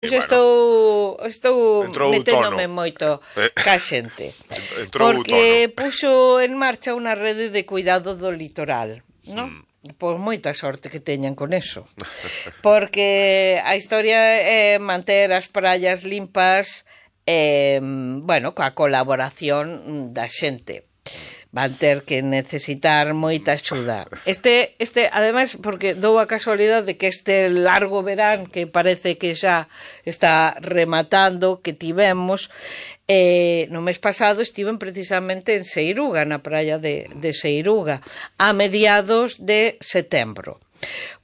Estou meténdome moito ca xente, porque puxo en marcha unha rede de cuidado do litoral, non? Por moita sorte que teñan con eso, porque a historia é manter as praias limpas, bueno, coa colaboración da xente. Van ter que necesitar moita axuda. Ademais, porque dou a casualidade de que este largo verán, que parece que xa está rematando, que tivemos, no mes pasado estiven precisamente en Seiruga, na praia de Seiruga, a mediados de setembro.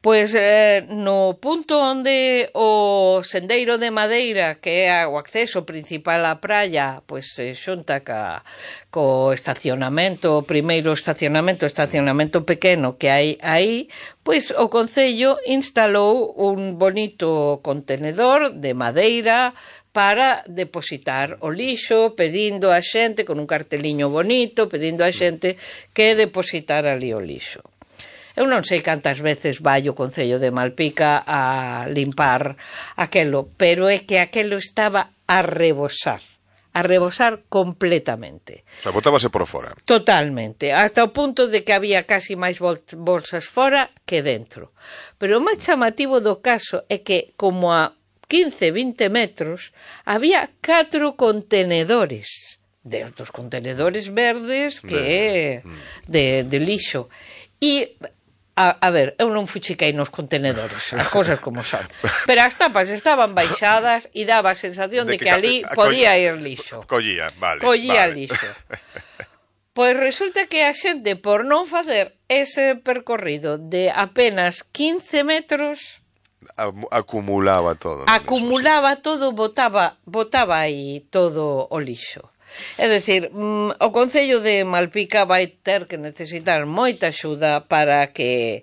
Pois no punto onde o sendeiro de madeira, que é o acceso principal á praia, pois xunta co estacionamento, o primeiro estacionamento pequeno que hai aí, pois o Concello instalou un bonito contenedor de madeira para depositar o lixo, pedindo a xente, con un carteliño bonito, pedindo a xente que depositar ali o lixo. Eu non sei cantas veces vai o Concello de Malpica a limpar aquelo, pero é que aquelo estaba a rebosar completamente. O sea, botábase por fora. Totalmente, hasta o punto de que había casi máis bolsas fora que dentro. Pero o máis chamativo do caso é que, como a 15-20 metros, había 4 contenedores, dos contenedores verdes que de lixo. E a ver, eu non fuchiquei nos contenedores, as cousas como son, pero as tapas estaban baixadas e daba a sensación de que ali podía ir lixo. Collía lixo. Pois resulta que a xente, por non facer ese percorrido de apenas 15 metros, acumulaba todo, botaba aí todo o lixo. É dicir, o Concello de Malpica vai ter que necesitar moita axuda para que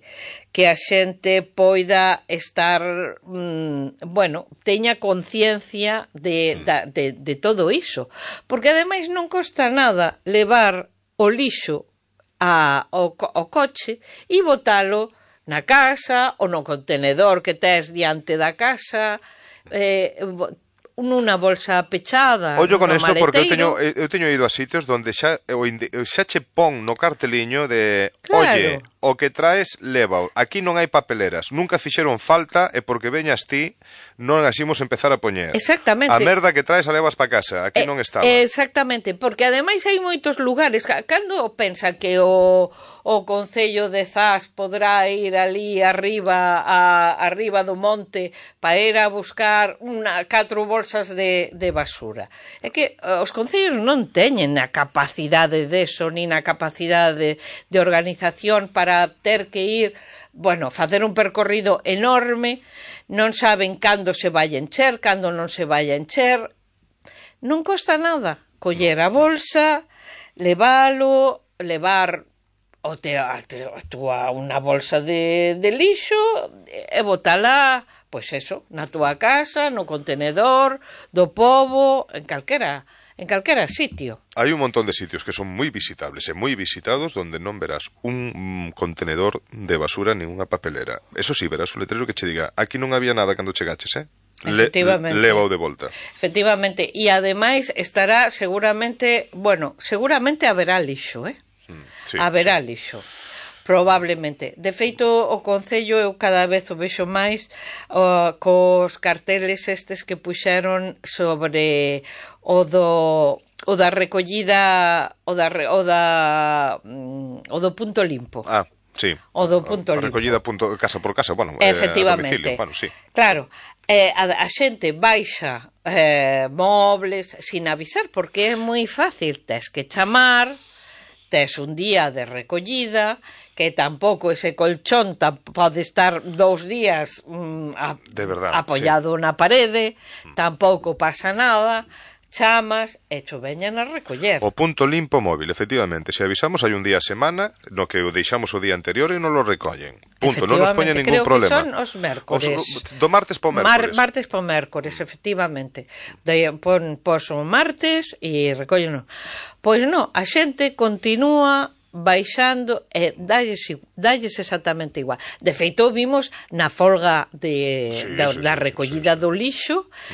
a xente poida estar, bueno, teña conciencia de todo iso. Porque ademais non costa nada levar o lixo ao coche e botalo na casa ou no contenedor que tes diante da casa, nunha bolsa pechada. Ollo con isto, porque eu teño ido a sitios onde xa che pon no carteliño de oye, o que traes, lévao. Aquí non hai papeleras, nunca fixeron falta e porque veñas ti non as imos empezar a poñer. Exactamente. A merda que traes a levas pa casa, aquí non estaba. Exactamente, porque ademais hai moitos lugares, cando pensa que o Concello de Zas podrá ir ali arriba do monte para ir a buscar 4 bolsas de basura. É que os concellos non teñen a capacidade deso, nin a capacidade de organización para ter que ir, bueno, facer un percorrido enorme, non saben cando se vai encher, cando non se vai encher. Non costa nada coller a bolsa, levar unha bolsa de lixo e botala, pois eso, na túa casa, no contenedor do pobo, en calquera sitio. Hai un montón de sitios que son moi visitables e moi visitados donde non verás un contenedor de basura nin unha papelera. Eso sí, verás un letrero que che diga aquí non había nada cando chegaches, leva-o de volta. Efectivamente, e ademais estará seguramente haberá lixo, haberá lixo, probablemente. De feito, o Concello eu cada vez o vexo máis cos carteles estes que puxeron sobre o da recollida o do punto limpo. Sí. O do punto limpo. Recollida casa por casa, bueno, efectivamente. A domicilio, bueno, sí. Claro, a xente baixa mobles sin avisar, porque é moi fácil, tes que chamar, tes un día de recollida, que tampouco ese colchón pode estar 2 días apoiado na parede, tampouco pasa nada, chamas e cho veñan a recoller. O punto limpo móvil, efectivamente. Se avisamos, hai un día a semana no que o deixamos o día anterior e non lo recollen. Punto, non nos poña ningún problema. Creo que son os mércores. Do martes po mércores. Martes po mércores, efectivamente. Pos o martes e recollen. Pois non, a xente continúa baixando e dalles exactamente igual. De feito, vimos na folga da recollida do lixo